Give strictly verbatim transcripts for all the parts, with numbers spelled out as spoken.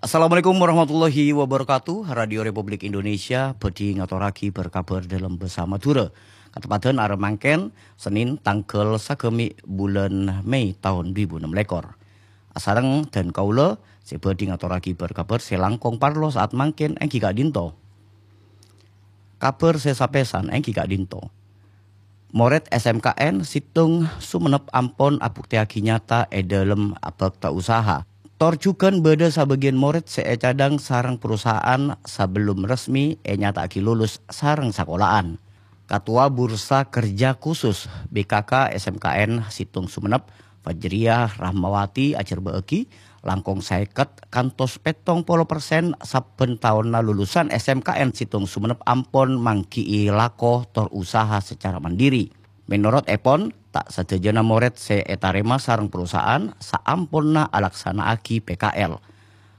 Assalamualaikum warahmatullahi wabarakatuh. Radio Republik Indonesia bhâdhi ngatorraghi bâr-kabhâr dâlem bhâsa Madhurâ. Kateppadhân arè mangkèn, Sennèn tangghâl sagâmè' bulân Mei taon du èbu ennem lèkor. Asareng dân kaulâ sè bhâdhi ngatorraghi bâr-kabhâr sè langkong parlo sa'at mangkèn èngghi ka'dinto. Kabhâr sè sapèsan èngghi ka'dinto. Morèd S M K N Sèttong Sumenep ampon abuktèyaghi nyata è dâlem abhâkta usaha. Tor jhughân bâdâ sabâgiyân morèd sè ècadhâng sareng perusahaan sabellum resmi ènyata'aghi lulus sareng sakola'an. Katowa Bursa Kerja Khusus B K K S M K N Sèttong Sumenep, Fajriyah Rahmawati ajhârbâ'âghi, langkong sèket kantos pèttong polo persen sabbhân taonna lulusan S M K N Sèttong Sumenep ampon mangghi'i lako tor usaha sacara mandiri. Mènorot èpon, ta' sadhâjâna morèd sè ètarèma sareng perusahaan saamponna alaksana'aghi P K L.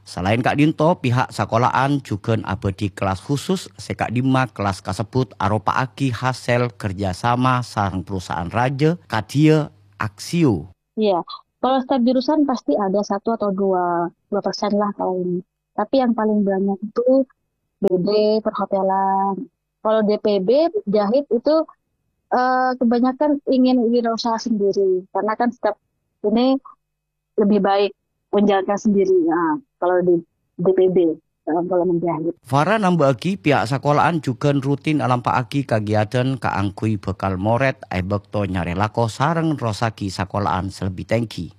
Salaèn ka'dinto, pihak sakola'an jhughân abâdhi kellas khusus sè ka'dimma kellas kasebbhut aropa'aghi hasèl kerjasama sareng perusahaan rajâ kadhiyâ Aksio. Iya, kalau setiap jurusan pasti ada satu atau dua, dua persen lah paling. Tapi yang paling banyak itu B B, perhotelan. Kalau D P B, jahit itu eh, kebanyakan ingin wirausaha sendiri. Karena kan setiap ini lebih baik menjalankan sendiri. Nah, kalau di D P B, eh, kalau menjahit. Farah namba'aghi, pihak sakola'an jhughân rutin alampa'aghi kagiyadhân kaangghuy bhâkal morèd è bâkto nyarè lako sareng nerrossaghi sakola'an sè lebbi tèngghi.